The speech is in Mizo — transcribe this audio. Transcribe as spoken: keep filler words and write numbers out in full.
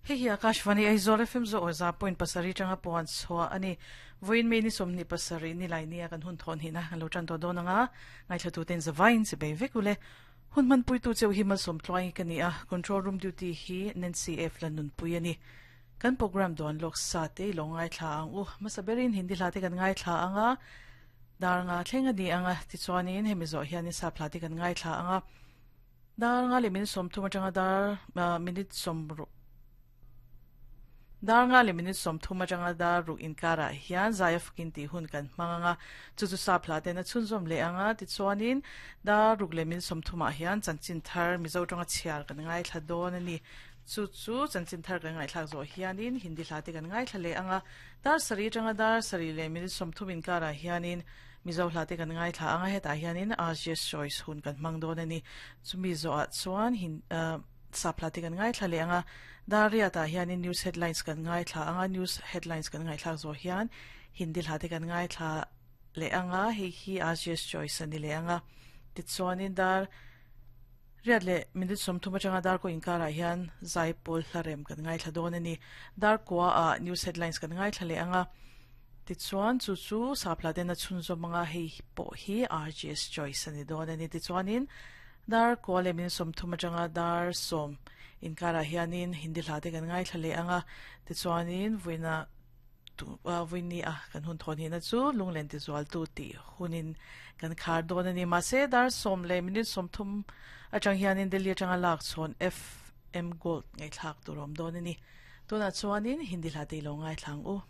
Hei hi Akashvani Aizawl F M zo aw za point pasarih atanga puan chhuah a ni. Vawiin May ni sawmhnih pasarih ni lai nia kan hun thawn hihna kan lo tan tawh dawn anga ngaithla ten zavaiin chi bei vek ule. Hun hman puitu cheu hi malsawm tluai ka ni a, control room duty hi Nancy F Lanunpui a ni. Kan program dawn lawk sa te lo ngaithla ang u. Hmasa berin Hindi hla te kan ngaithla anga dar nga thleng a ni anga tichuanin hemi zawh hianin sap hla te kan ngaithla anga dar nga leh minute sawmthum atanga dar minute sawm dar nga leh minute sawmthum atanga dar ruk inkarah hian zai fakin tih hun kan hmang anga chu chu sap hla ten a chhunzawm leh anga tichuanin dar ruk leh minute sawmthumah hian chanchin thar Mizo tanga chhiar kan ngaithla dawn a ni. Chu chu chanchin thar kan ngaithlak zawh hianin Hindi hla te kan ngaithla leh anga dar sarih atanga dar sarih leh minute sawmthum inkarah hianin Mizo hla te kan ngaithla anga hetah hianin R J S Choice hun kan hmang dawn a ni. Chumi zawhah chuan hin sap hla te kan ngaithla leh anga dar riatah hianin news headlines kan ngaithla anga news headlines kan ngaithlak zawh hian Hindi hla te kan ngaithla leh anga hei hi R J S Choice a ni leh anga tichuanin dar riat leh minute sawmthum atanga dar ko inkarah hian zai pawl hlarem kan ngaithla dawn a ni. Dar kua ah news headlines kan ngaithla leh anga tichuan chu chu sap hla ten a chhunzawm anga hei pawh hi R J S Choice a ni dawn a ni. Tichuanin dar kua leh minute sawmthum atanga dar sawm inkarah hianin Hindi hla te kan ngaithla leh anga tichuanin vuina vuini a kan hun thawn hihna chu lunglen tizual tu tih hunin kan khar dawn a ni. Mahse dar sawm leh minute sawmthum atang hianin Delhi atanga lak chhawn F M Gold ngaithlak tur awm dawn a ni. Tunah chuanin Hindi hla te lo ngaithla ang u.